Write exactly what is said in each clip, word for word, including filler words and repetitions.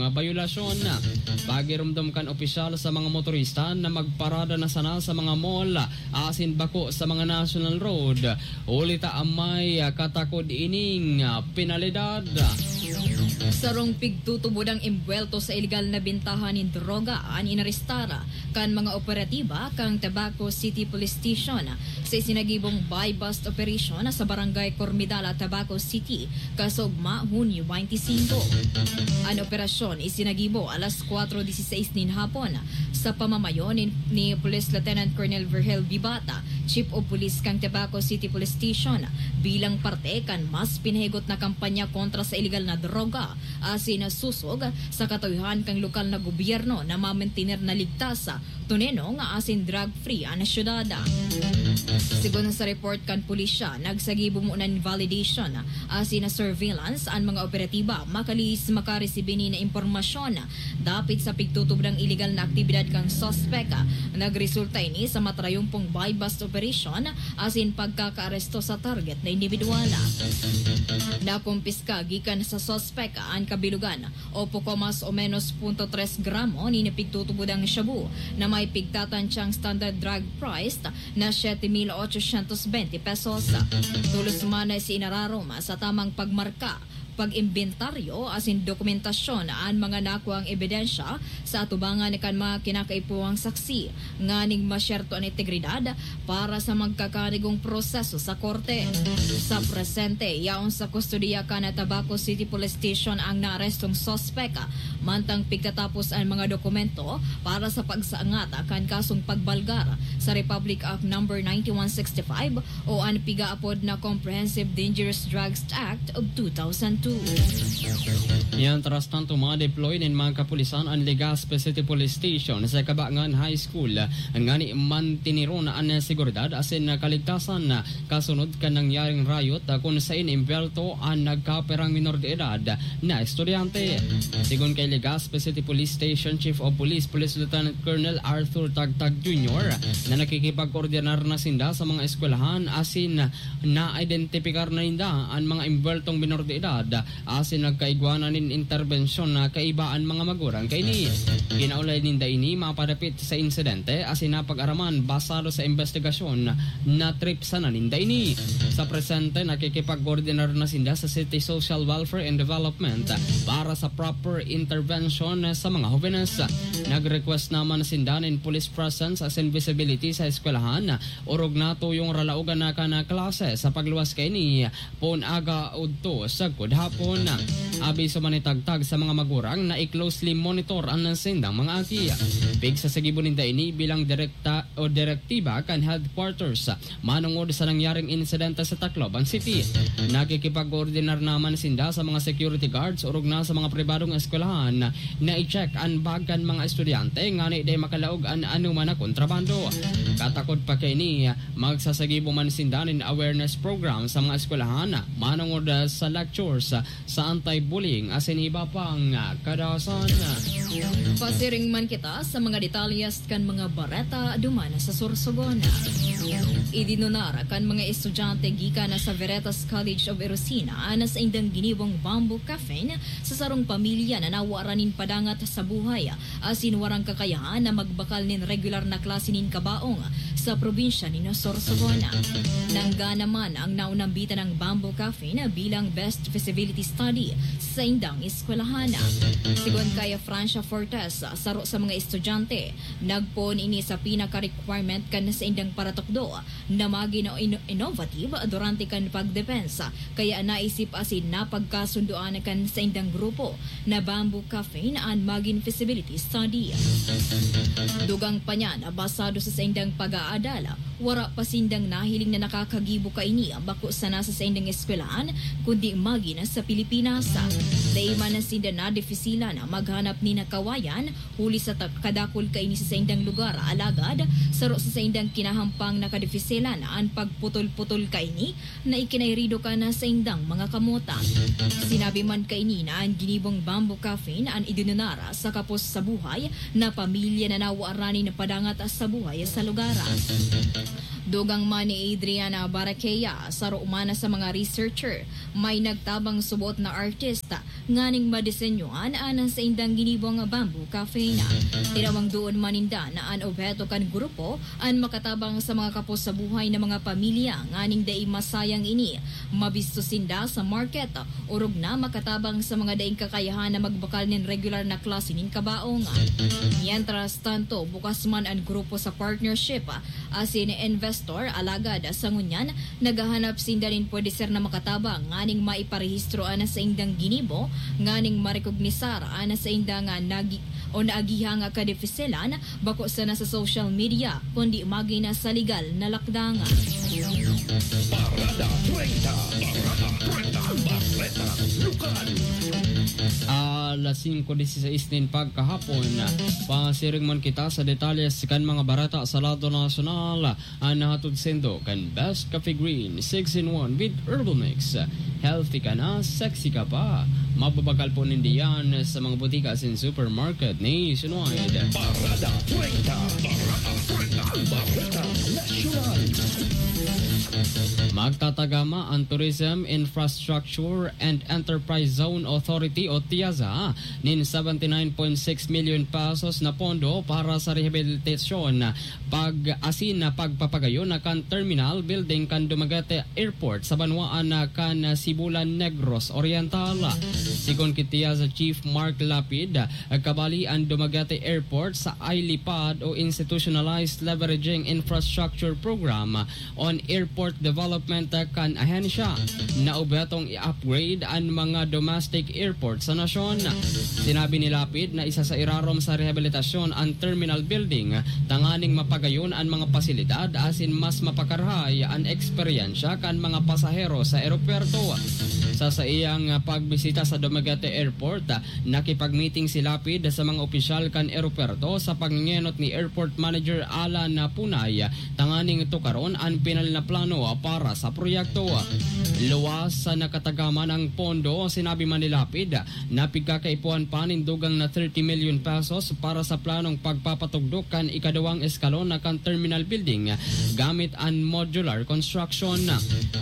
bayolasyon. Pagiromdom kan opisyal sa mga motorista na magparada na sana sa mga mall asin bako sa mga national road, huli ta an may katakod ining penalidad. Sarong pigtutubod ang imbwelto sa ilegal na bentahan nin droga an inarestar kan mga operatiba kan Tabaco City Police Station sa isinagibong buy-bust operation sa Barangay Cormidala, Tabaco City, kasugma Hunyo twenty-five. An operasyon isinagibo alas kwatro disisais nin hapon sa pamamayo ni, ni Police Lieutenant Colonel Virgil Bibata, Chief of Police kan Tabaco City Police Station, bilang parte kan mas pinahigot na kampanya kontra sa ilegal na droga asin susog sa katuyohan kan lokal na gobyerno na mamantener na ligtas, tunenong asin drug-free an syudad. Sigon sa report kan pulisya, nagsagibo mo nin validation asin surveillance an mga operatiba makalihis makaresibi nin impormasyon dapit sa pigtutubod kan ilegal na aktibidad kan suspek. Nagresulta ini sa matrayumpong buy-bust operation asin pagkakaaresto sa target na indibidwal. Nakumpiska gikan sa suspek an kabilugan o poko mas o menos punto tres gramo nin pigtutubod kan shabu na may pigtatantyang standard drug price na siete mil ochocientos bente pesos. Tolos man na isinararom sa tamang pagmarka, pag-imbentaryo asin dokumentasyon an mga nakuang ebidensya sa atubangan kan mga kinakaipuhang saksi nganing masyerto an integridad para sa magkakarigong proseso sa korte. Sa presente, yaon sa kustodiya kan Tabaco City Police Station ang naarestong suspek, mantang pigtatapos an mga dokumento para sa pagsaangat kan kasong pagbalgar sa Republic Act Number ninety-one sixty-five o an pigaapod na Comprehensive Dangerous Drugs Act of two thousand two. Yan, tras tanto, ma-deploy nin mga kapulisan an Legazpi City Police Station sa Kabangan High School ngani mantineron an seguridad asin kaligtasan kasunod kan nangyaring riot, kun sain imbwelto an nagkaperang minor de edad na estudyante. Sigon kay Legazpi City Police Station Chief of Police, Police Lieutenant Colonel Arthur Tagtag Junior, na nakikipag-koordinar na sinda sa mga eskwelahan asin na-identipikar na ninda an mga imbweltong minor de edad asin nagkaigwa na nin interbensyon na kaiba an mga magurang kaini. Kinaulay ninda ini mapadapit sa insidente asin napag-araman basado sa imbestigasyon na trip sana ninda ini. Sa presente, nakikipag-koordinar na sinda sa City Social Welfare and Development para sa proper intervention sa mga hobenes. Nag-request naman sinda nin police presence asin visibility sa eskwelahan, orog natuyong ralaogan na kan klase sa pagluwas kaini poon aga udto sagkod hapon. Abiso man ni Tagtag sa mga magurang na i-closely monitor an saindang mga aki. Pigsasagibo ninda ini bilang direkta o direktiba kan headquarters manongod sa nangyaring insidente sa Tacloban City. Nakikipag-koordinar naman sinda sa mga security guards orog na sa mga pribadong eskwelahan na i-check an bag kan mga estudyante ngani dai makalaog an anoman na kontrabando. Katakod pa kaini, magsasagibo man sinda nin awareness program sa mga eskwelahan manongod sa lectures sa anti-bullying asin iba pang kadasan. Pasiring man kita sa mga detalyes kan mga bareta duman sa Sorsogon. Idinunar kan mga estudyante gikan sa Veritas College of Erosina na saindang ginibong bamboo coffin sa sarong pamilya na nawaran nin padangat sa buhay asin warang kakayahan na magbakal nin regular na klase nin kabaong sa probinsya nin Sorsogon. Nangga naman ang naunambitan ng bamboo coffin bilang best feasibility study sa saindang eskwelahan. Sigon kay Francia Fortes, saro sa mga estudyante, nagpoon ini sa pinaka-requirement kan saindang paratukdo na magin ino-, innovative durante kan pagdepensa, kaya naisip asin napagkasundoan kan saindang grupo na bamboo coffin an magin feasibility study. Dugang pa niyan, basado sa saindang pag-aadal, wara pa sindang nahiling na nakakagibo kaini bako sana sa saindang eskwelahan, kundi magin sa Pilipinas. Dai man na sinda nadefisilan na maghanap nin kawayan, huli sa ta-, kadakul kaini sa saindang lugar, alagad saro sa saindang kinahampang na kadefisilan an pagputol-putol kaini na ikinairido kan saindang mga kamot. Sinabi man kaini na an ginibong bamboo coffin an idinunar sa kapos sa buhay na pamilya na nawaran nin padangat sa buhay sa lugar. Dugang man ni Adriana Baraquea, saro man sa mga researcher, may nagtabang subot na artist nganing madisenyohan an saindang ginibong bamboo coffin. Tinawang doon man ninda na an obheto kan grupo an makatabang sa mga kapos sa buhay na mga pamilya nganing dai masayang ini mabisto sinda sa market, orog na makatabang sa mga daing kakayahan na magbakal nin regular na klase nin kabaong. Mientras tanto, bukas man an grupo sa partnership asin investor, alagad sa ngunyan, naghahanap sinda nin pwede ser na makatabang nganing maiparehistro an saindang ginibo, nganing marekognisar an saindang nagi-, o naagihang kadefisilan, bako sana sa social media, kundi magin sa legal na lakdang. Parada treinta, Parada treinta, Bareta Lokal. Alas singko dieciséis nin pagkahapon, pasiring man kita sa detalles kan mga bareta sa lado nasyonal. An nahatod saindo kan Best Coffee Green, six in one with Herbal Mix. Healthy ka na, sexy ka pa. Mababakal po ninda yan sa mga butika asin supermarket nationwide. Parada treinta, Parada treinta, Bareta Nasyonal. Magtatagama an Tourism Infrastructure and Enterprise Zone Authority o TIAZA nin seventy nine point six million pesos na pondo para sa rehabilitasyon, pag-asin na pagpapagayon na kan terminal building kan Dumaguete Airport sa banwaan na kan Sibulan, Negros Oriental. Sigon ki TIAZA Chief Mark Lapid, kabali an Dumaguete Airport sa ILIPAD o Institutionalized Leveraging Infrastructure Program on Airport Development kan ahensya, na objetong i-upgrade an mga domestic airport sa nasyon. Sinabi ni Lapid na isa sa irarom sa rehabilitasyon an terminal building tanganing mapagayon an mga pasilidad asin mas mapakarahay an eksperyensya kan mga pasahero sa eropuwerto. Sa saiyang pagbisita sa Dumaguete Airport, nakipag-meeting si Lapid sa mga opisyal kan eropuwerto sa pangengenot ni Airport Manager Alan Punay tanganing tukaron an pinal na plano para sa proyekto. Luwas sa nakatagaman ang pondo, sinabi man ni Lapid na pigkakaipuhan pa nin dugang na thirty million pesos para sa planong pagpapatugdok kan ikaduwang eskalon na kan terminal building gamit an modular construction.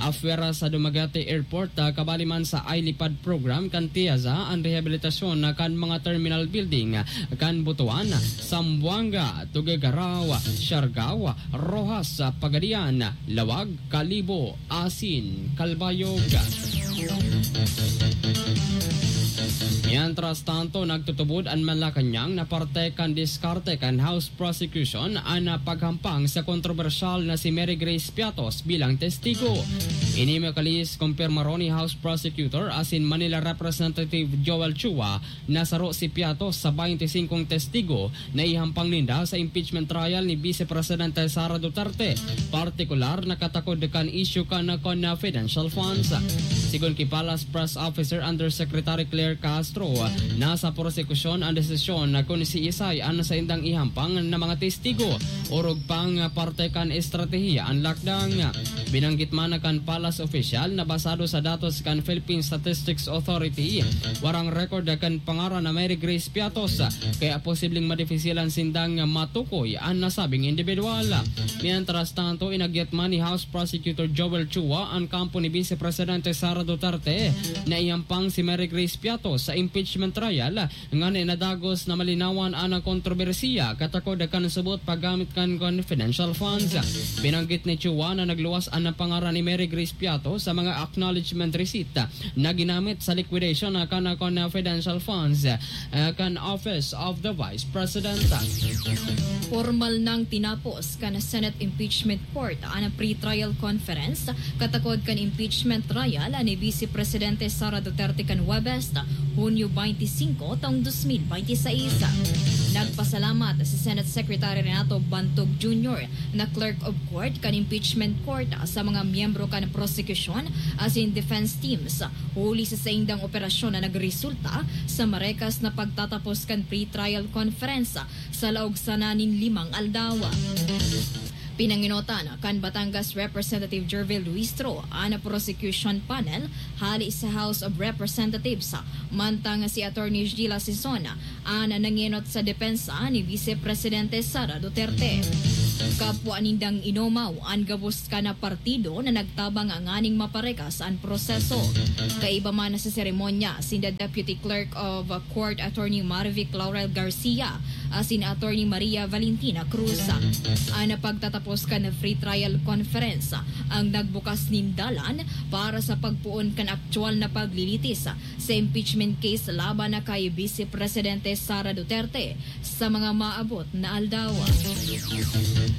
Afera sa Dumaguete Airport, ah, kabali man sa ILIPAD program kan TIAZA an rehabilitasyon na kan mga terminal building kan Butuan, Zamboanga, Tuguegarao, Siargao, Roxas, Pagadian, Laoag, Kalibo asin Calbayog. Mientras tanto, nagtutubod an Malacañang na parte kan diskarte kan House Prosecution an paghampang sa kontrobersyal na si Mary Grace Piatos bilang testigo. Ini makalis kumpirmaron ni House Prosecutor asin Manila Representative Joel Chua na saro si Piatos sa baynte singkong testigo na ihampang ninda sa impeachment trial ni Vice Presidente Sara Duterte, partikular na katakod kan isyu kan confidential funds. Sigon ki Palace Press Officer Undersecretary Claire Castro, nasa prosekusyon an desisyon na kun siisay an saindang ihampang na mga testigo, orog pang parte kan estratehiya an lakdang. Binanggit man kan Palace official na basado sa datos kan Philippine Statistics Authority, warang record kan pangaran na Mary Grace Piatos, kaya posibleng madifisilan sindang matukoy an nasabing individual. Mientras tanto, inagyat man ni House Prosecutor Joel Chua an kampo ni Vice Presidente Sara Duterte na ihampang si Mary Grace Piatos sa impeachment trial ngani na dagos na malinawan an kontrobersiya katakod kan subot paggamit kan confidential funds. Binanggit ni Chua na nagluwas an pangaran ni Mary Grace Piatos sa mga acknowledgement receipt na ginamit sa liquidation kan confidential funds, eh, kan Office of the Vice President. Formal nang tinapos kan Senate Impeachment Court an pre-trial conference katakod kan impeachment trial ni Vice Presidente Sara Duterte kan Huwebes, Hunyo baynte singko, taong dos mil baynte sais. Nagpasalamat si Senate Secretary Renato Bantog Junior na Clerk of Court kan Impeachment Court sa mga miyembro kan prosekusyon asin defense teams huli sa saindang operasyon na nagresulta sa marekas na pagtatapos kan pre-trial conference sa laog sana nin limang aldaw. Pinangenotan kan Batangas Representative Jervil Luistro an prosecution panel hale sa House of Representatives, mantang si Attorney Gila Sison an nangenot sa depensa ni Vice Presidente Sara Duterte. Kapwa nindang inomaw an gabos kan partido na nagtabang nganing maparekas an proseso. Kaiba man sa seremonya, sinda Deputy Clerk of Court Attorney Marvic Laurel Garcia asin Attorney Maria Valentina Cruz. An pagtatapos kan free trial conference ang nagbukas nin dalan para sa pagpoon kan aktuwal na paglilitis sa impeachment case laban na kay Vice Presidente Sara Duterte sa mga maabot na aldaw.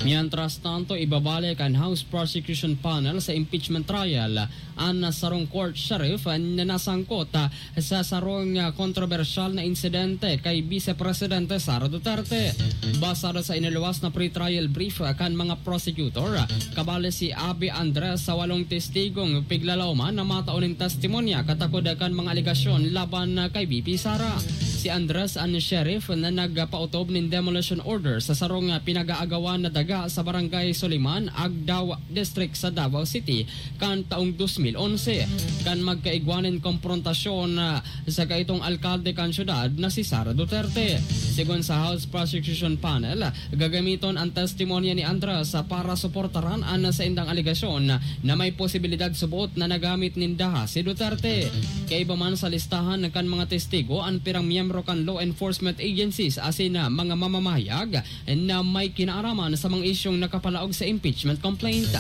Mientras tanto, ibabalik an House Prosecution Panel sa impeachment trial an sarong court sheriff na nasangkot, ah, sa sarong, ah, kontrobersyal na insidente kay Vice Presidente Sara Duterte. Basado sa iniluwas na pre-trial brief, ah, kan mga prosecutor, ah, kabali si Abby Andres sa walong testigong piglalaoman na matao nin testimonya katakod kan mga alegasyon laban, ah, kay V P Sara. Si Andres an sheriff na nagpautob nin demolition order sa sarong, ah, pinag-aagawan na daga sa Barangay Soliman, Agdao District sa Davao City kan taong dos mil onse, kan magkaigwa nin komprontasyon, ah, sa kaitong alkalde kan syudad na si Sara Duterte. Sigon sa House Prosecution Panel, gagamiton an testimonya ni Andres para suportaran an saindang alegasyon na may posibilidad subot na nagamit ninda si Duterte. Kaiba man sa listahan kan mga testigo an pirang miyembro kan law enforcement agencies asin mga mamamahayag na may kinaaraman sa mga isyung nakapalaog sa impeachment complaint.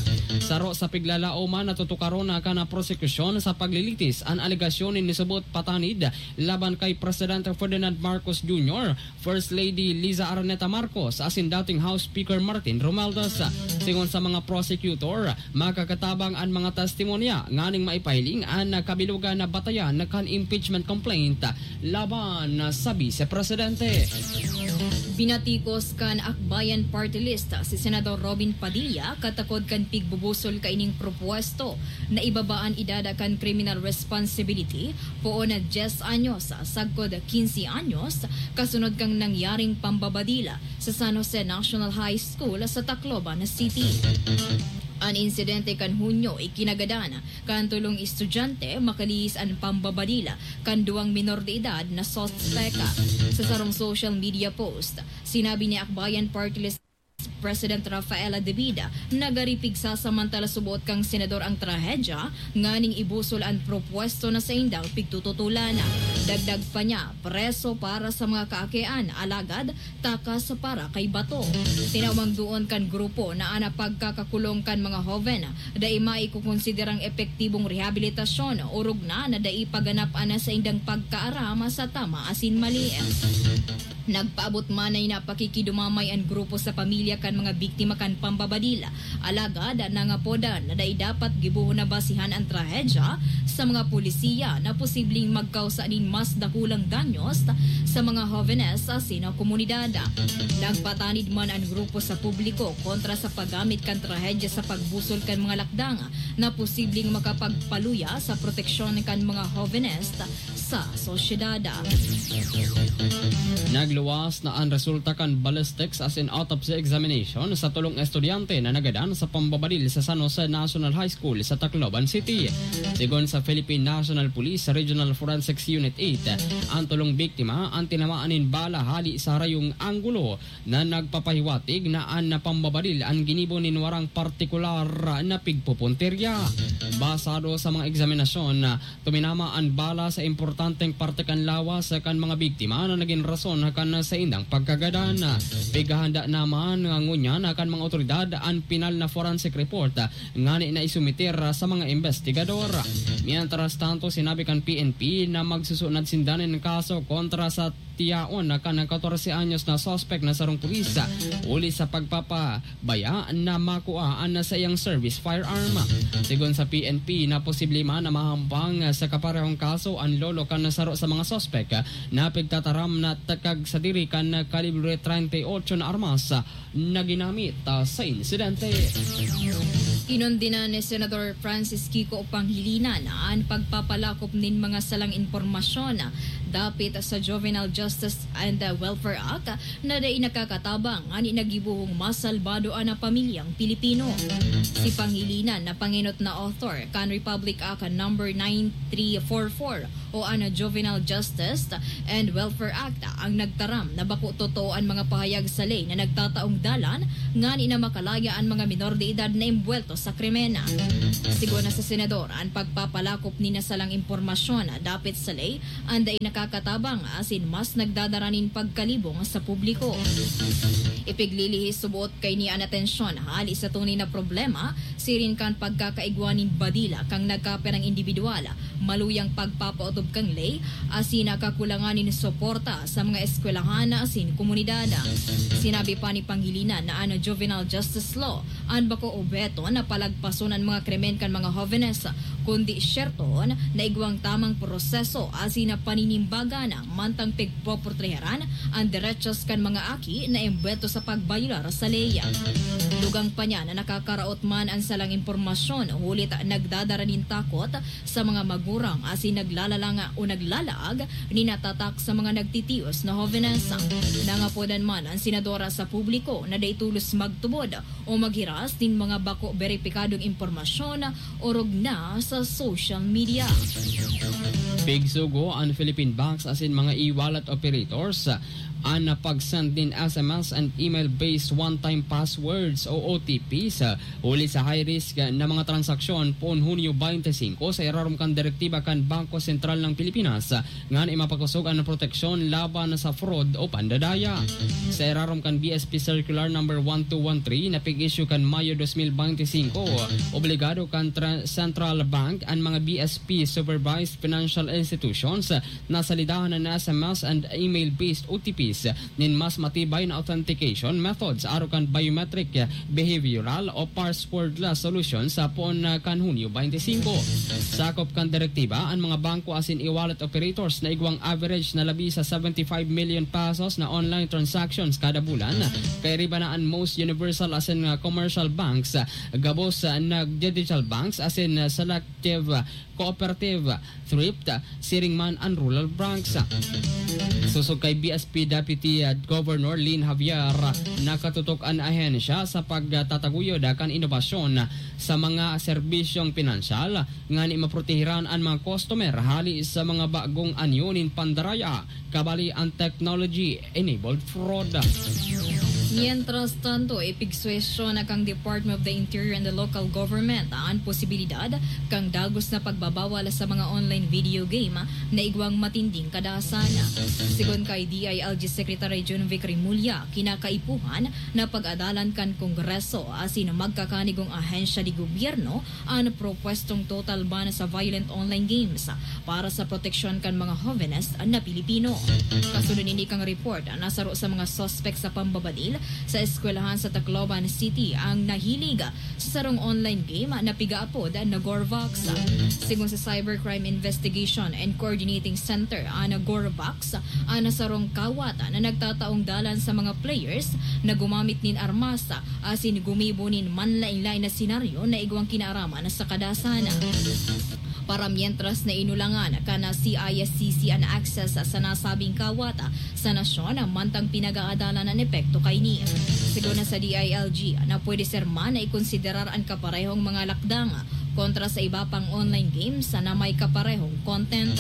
Saro sa piglalaoman, natutukaron na kan prosekusyon sa paglilitis an alegasyon nin nisubot patanid laban kay Presidente Ferdinand Marcos Junior, First Lady Liza Araneta Marcos asin dating House Speaker Martin Romualdez. Sigon sa mga prosecutor, makakatabang an mga testimonya nganing maipahiling an kabilugan na batayan kan impeachment complaint laban sa Vice Presidente. Binatikos kan Akbayan Party List si Senador Robin Padilla katakod kan pigbubusol kaining propuesto na ibaba an edad kan criminal responsibility, poon na dyes anyos sagkod quince anyos, kasunod kan nangyaring pambabadil sa San Jose National High School sa Tacloban City. An insidente kan Hunyo ikinagadan kan tolong estudyante, makalihis an pambabadil kan duwang minor de edad na suspek. Sa sarong social media post, sinabi ni Akbayan Party List President Rafaela David na gari pigsasamantala subot kan senador ang trahedya nganing ibusol an propuesto na saindang pigtututulan. Dagdag pa niya, preso para sa mga kaakian, alagad takas para kay bato. Tinawang duon kan grupo na an pagkakakulong kan mga hoven dai maikokonsiderang epektibong rehabilitasyon, orog na na dai paganap an saindang pagkaaram sa tama asin mali. Nagpaabot man na pakikidumamay an grupo sa pamilya kan mga biktima kan pambabadil. Alagad nangapodan na dai dapat gibohon na basihan an trahedya sa mga polisiya na posibleng magkausa nin mas dakulang danyos sa mga hovenes asin komunidad. Nagpatanid man an grupo sa publiko kontra sa paggamit kan trahedya sa pagbusol kan mga lakdang na posibleng makapagpaluya sa proteksyon kan mga hovenes sa sosyedad. Nagluwas na an resulta kan ballistics asin autopsy examination sa tolong estudyante na nagadan sa pambabadil sa San Jose National High School sa Tacloban City. Sigon sa Philippine National Police Regional Forensics Unit eight, an tolong biktima an tinamaan nin bala hali sa harayong anggulo na nagpapahiwatig na an pambabadil an ginibo nin warang partikular na pigpupuntirya. Basado sa mga eksaminasyon, tuminama an bala sa importanteng parte kan lawas kan mga biktima na nagin rason kan saindang pagkagadan. Pighahanda naman ngunyan kan mga otoridad an pinal na forensic report ngani na isumiter sa mga investigador. Mientras tanto, sinabi kan P N P na magsusunod sinda nin kaso kontra sa tiyaon na kan katorse anyos na suspek na sarong pulis, huli sa pagpapabaya na makua an saiyang service firearm. Sigon sa P N P na posible man na mahampang sa kaparehong kaso an lolo kan saro sa mga suspek na pigtataram na takag sadiri kan kalibre treinta y ocho na armas na ginamit, ah, sa insidente. Kinundinan ni Senador Francis Kiko Pangilinan an pagpapalakop nin mga salang impormasyon dapit sa Juvenile Justice and Welfare Act na dai nakakatabang ngani nagibohong masalbado an pamilyang Pilipino. Si Pangilinan na pangenot na author kan Republic Act Number nine three four four o an Juvenile Justice and Welfare Act ang nagtaram na bako totoo an mga pahayag sa ley na nagtataong dalan ngani na makalaya an mga minor de edad na embwelto sa krimen. Sigon na sa senador, an pagpapalakop nin nasalang impormasyon dapit sa ley an dai nakakatabang asin mas nagdadara nin pagkalibong sa publiko. Ipiglilihis subot kaini an atensyon hali sa tunay na problema siring kan pagkakaigwa nin badila kan nagkapirang indibidwal, maluyang pagpapaotob kan ley, asin kakulangan nin suporta sa mga eskwelahan asin komunidad. Sinabi pa ni Pangilinan na an Juvenile Justice Law an bako obheto na palagpason an mga krimen kan mga hovenes, kundi syertoon na igwang tamang proseso asin paninimbagan mantang pigpoportreharan an derechos kan mga aki na embwelto sa pagbayolar sa ley. Dugang pa niya na nakakaraot man an salang impormasyon, hulit nagdadara nin takot sa mga magurang asin naglalalanga o naglalaag nin tatak sa mga nagtitios na hovenes. Nangapodan man an senadora sa publiko na dai tolos magtubod o maghiras nin mga bako beripikadong impormasyon orog na sa social media. Pigsugo an Philippine banks asin mga e-wallet operators an pag-send nin S M S and email-based one-time passwords o O T Ps, huli sa high-risk na mga transaksyon poon Hunyo twenty-five sa irarom kan direktiba kan Bangko Sentral ng Pilipinas ngani mapakosog an proteksyon laban sa fraud o pandadaya. Sa irarom kan B S P Circular Number one two one three na pig-issue kan Mayo twenty twenty-five, obligado kan tra-, Central Bank an mga B S P supervised financial institutions na salidahan an S M S and email-based O T Ps nin mas matibay na authentication methods arog kan biometric, behavioral o passwordless solution sa poon na kan Hunyo twenty-five. Sakop kan direktiba, an mga bangko asin e-wallet operators na igwang average na labi sa seventy-five million pesos na online transactions kada bulan, kairiba na an most universal asin, ah, commercial banks, ah, gabos, ah, na digital banks asin, ah, selective, ah, cooperative, thrift, ah, siring man an rural banks. Sosog kay B S P Deputy, ah, Governor Lynn Javier, ah, nakatutok an ahensya sa pagtataguyod, ah, kan inobasyon, ah, sa mga serbisyong pinansyal, ngani maprotehiran an mga customer hali sa mga bagong anyo nin pandaraya, kabali an technology-enabled fraud. Mientras tanto, ipigsuhestyon na kan Department of the Interior and the Local Government an posibilidad kan dagos na pagbabawal sa mga online video game na igwang matinding kadasan. Sigon kay D I L G Secretary Junvic Remulla, kinakaipuhan na pag-adalan kan Kongreso asin magkakanigong ahensya de gobyerno an propwestong total ban sa violent online games para sa proteksyon kan mga hovenes na Pilipino. Kasunod nini kan report, nasaro sa mga suspek sa pambabadil sa eskwelahan sa Tacloban City ang nahilig sa sarong online game na pigaapod na Gorvox. Sigon sa Cybercrime Investigation and Coordinating Center, an Gorvox an sarong kawat na nagtataong dalan sa mga players na gumamit nin armas asin gumibo nin manlaen-laen na senaryo na igwang kinaaraman sa kadasan. Para mientras na inulangan kan C I S C C an access sa nasabing kawat sa nasyon, mantang pinag-aadalan an epekto kaini. Sigon na sa D I L G, na pwede ser man na ikonsiderar an kaparehong mga lakdang kontra sa iba pang online games na may kaparehong content.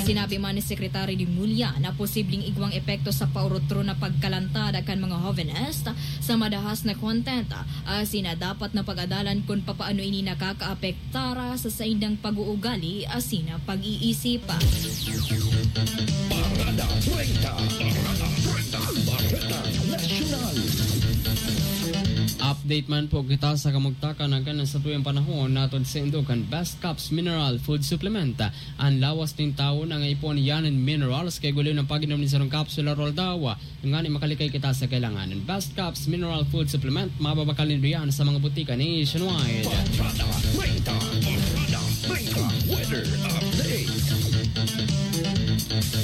Sinabi man ni Secretary Remulla na posibleng igwang epekto sa paurutro na pagkalantad kan mga hovenes sa madahas na content, asin na dapat na pag-adalan kun papaano ini nakakaapektar sa saindang pag-uugali asin pag-iisip. Parada treinta, Parada treinta, Bareta Nasyonal. Update man po kita sa kamugtakan na kan satuyang panahon, natod saindo kan Best Caps Mineral Food Supplement. An lawas nin tawo na nga ipon yan nin minerals, kay guli ng pag-inom ni sarong kapsula roldaw. Ngani makalikay kita sa kailangan. Best Caps Mineral Food Supplement, mababakal nindo yan sa mga butika nationwide. Parada treinta, Parada treinta, weather update.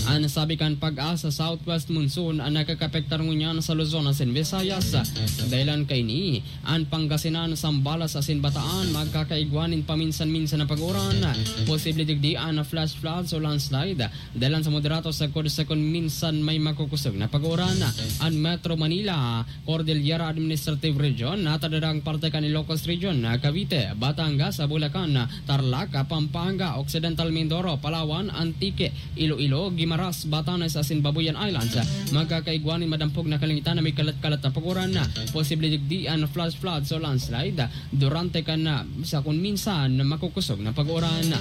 An sabi kan PAGASA, southwest monsoon an nakakaapektar ngunyan sa Luzon asin Visayas. Dahilan kaini, an Pangasinan, Zambales asin Bataan magkakaigwa nin paminsan-minsan na pag-uran. Posible digdi an flash floods o landslide. Dahilan sa moderato sagkod-sagkod minsan may makukusog na pag-uran. An Metro Manila, Cordillera Administrative Region, natadadang parte kan Ilocos Region, Cavite, Batangas, Bulacan, Tarlac, Pampanga, Occidental Mindoro, Palawan, Antique, Iloilo, Guimaras, Batanes asin Babuyan Islands. Magkakaigwa nin madampog na kalangitan na may kalat-kalat na pag-uran. Posible digdi an flash floods o landslide durante kan, ah, sa kun minsan makukusog na pag-uran.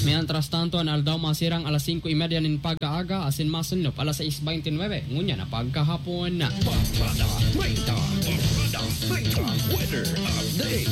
Mientras tanto, an aldaw masirang alas singko y media nin pag-aaga asin masunop alas sais baynte nuebe ngunyan na pagkahapon. Barkada treinta, Barkada treinta, weather update.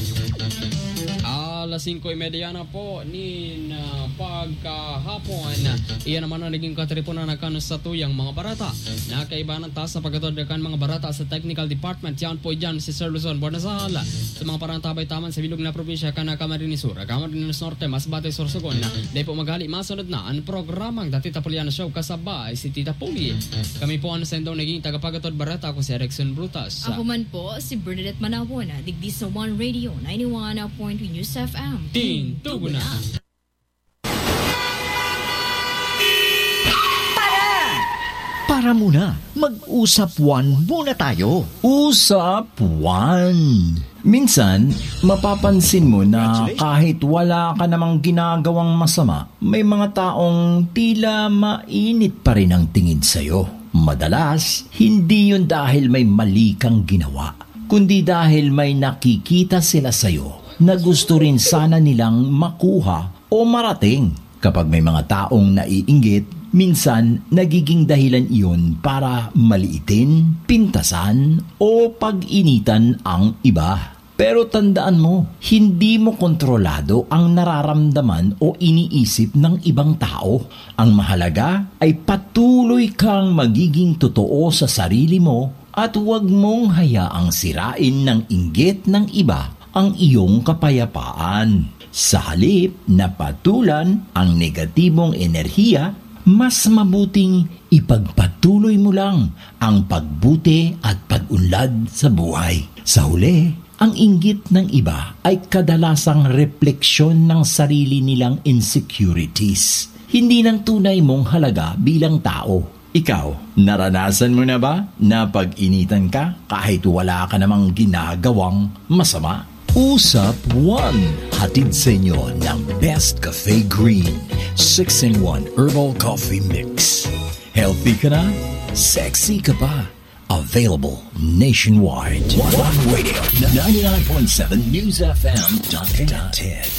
Alas singko y media na po nin, ah, pagkahapon. Iyan naman ang naging katiriponan na kan satuyang mga barata. Nakaibahan ta sa pagkatod kan mga barata sa technical department. Yan po dyan si Sir Luzon Bornasal. Sa mga parantabay taman sa bilog na probinsya kan Camarines Sur, Camarines Norte, Masbate, Sorsogon. Dahil po maghali, masunod na ang programang The Tita Puliana Show kasabay si Tita Puli. Kami po ang sendong naging tagapagatod barata, ako si Erickson Brutas. Ako man po, si Bernadette Manawon, digdi sa One Radio, ninety-one point three News F M. Tintugo na. Para! Para muna, mag-usap one muna tayo. Usap one. Minsan, mapapansin mo na kahit wala ka namang ginagawang masama, may mga taong tila mainit pa rin ang tingin sa'yo. Madalas, hindi yun dahil may mali kang ginawa, kundi dahil may nakikita sila sa'yo na gusto rin sana nilang makuha o marating. Kapag may mga taong naiinggit, minsan nagiging dahilan iyon para maliitin, pintasan, o pag-initan ang iba. Pero tandaan mo, hindi mo kontrolado ang nararamdaman o iniisip ng ibang tao. Ang mahalaga ay patuloy kang magiging totoo sa sarili mo at huwag mong hayaang sirain ng inggit ng iba ang iyong kapayapaan. Sa halip na patulan ang negatibong enerhiya, mas mabuting ipagpatuloy mo lang ang pagbuti at pag-unlad sa buhay. Sa huli, ang inggit ng iba ay kadalasang refleksyon ng sarili nilang insecurities, hindi ng tunay mong halaga bilang tao. Ikaw, naranasan mo na ba na pag-initan ka kahit wala ka namang ginagawang masama? Usap one, hatid sa inyo ng Best Cafe Green six-in-one Herbal Coffee Mix. Healthy ka na, sexy ka pa. Available nationwide. One Radio, ninety-nine point seven News F M. Connected.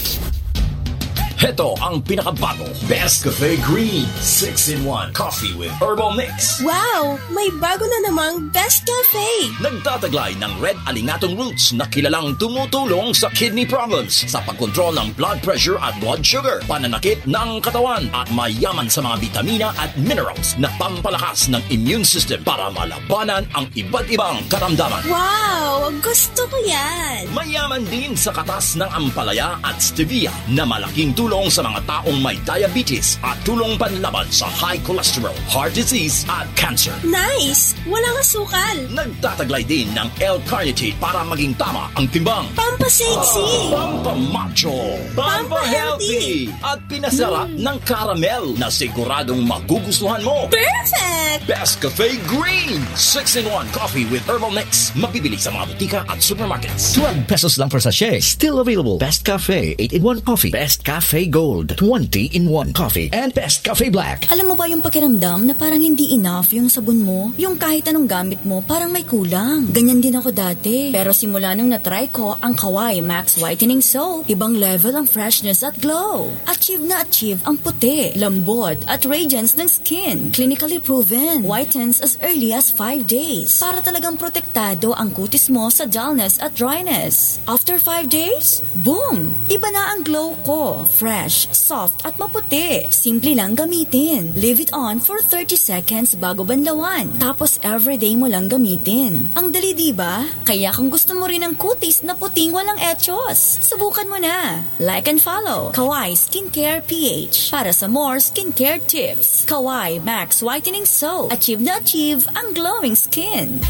Heto ang pinakabago, Best Cafe Green six-in-one Coffee with Herbal Mix. Wow! May bago na namang Best Cafe! Nagtataglay ng red alingatong roots na kilalang tumutulong sa kidney problems, sa pagkontrol ng blood pressure at blood sugar, pananakit ng katawan, at mayaman sa mga bitamina at minerals na pampalakas ng immune system para malabanan ang iba't ibang karamdaman. Wow! Gusto ko yan! Mayaman din sa katas ng ampalaya at stevia na malaking tulong sa mga taong may diabetes at tulong panlaban sa high cholesterol, heart disease at cancer. Nice! Walang asukal! Nagtataglay din ng L-carnitine para maging tama ang timbang. Pampasexy! Pampamacho! Pampahealthy! At pinasarap ng caramel na siguradong magugustuhan mo. Perfect! Best Cafe Green six-in-one Coffee with Herbal Mix. Mabibili sa mga butika at supermarkets. Twelve pesos lang per sachet. Still available. Best Cafe eight-in-one Coffee. Best Cafe Gold twenty-in-one Coffee. And Best Cafe Black. Alam mo ba yung pakiramdam na parang hindi enough yung sabon mo? Yung kahit anong gamit mo, parang may kulang. Ganyan din ako dati. Pero simula nung na-try ko ang Kawai Max Whitening Soap, ibang level ang freshness at glow. Achieve na achieve ang puti, lambot, at radiance ng skin. Clinically proven. Whitens as early as five days. Para talagang protektado ang kutis mo sa dullness at dryness. After five days, boom! Iba na ang glow ko. Fresh, soft at maputi. Simple lang gamitin. Leave it on for thirty seconds bago banlawan. Tapos everyday mo lang gamitin. Ang dali, di ba? Kaya kung gusto mo rin ng kutis na puting walang echos, subukan mo na. Like and follow Kawai Skincare P H para sa more skincare tips. Kawai Max Whitening Soap. Achieve na achieve ang glowing skin.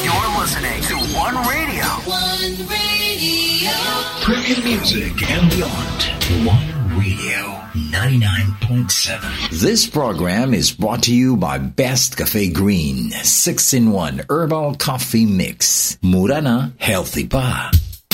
You're listening to One Radio. One Radio. Premium music and beyond. One Radio ninety-nine point seven. This program is brought to you by Best Cafe Green six-in-one Herbal Coffee Mix. Mura na, healthy pa.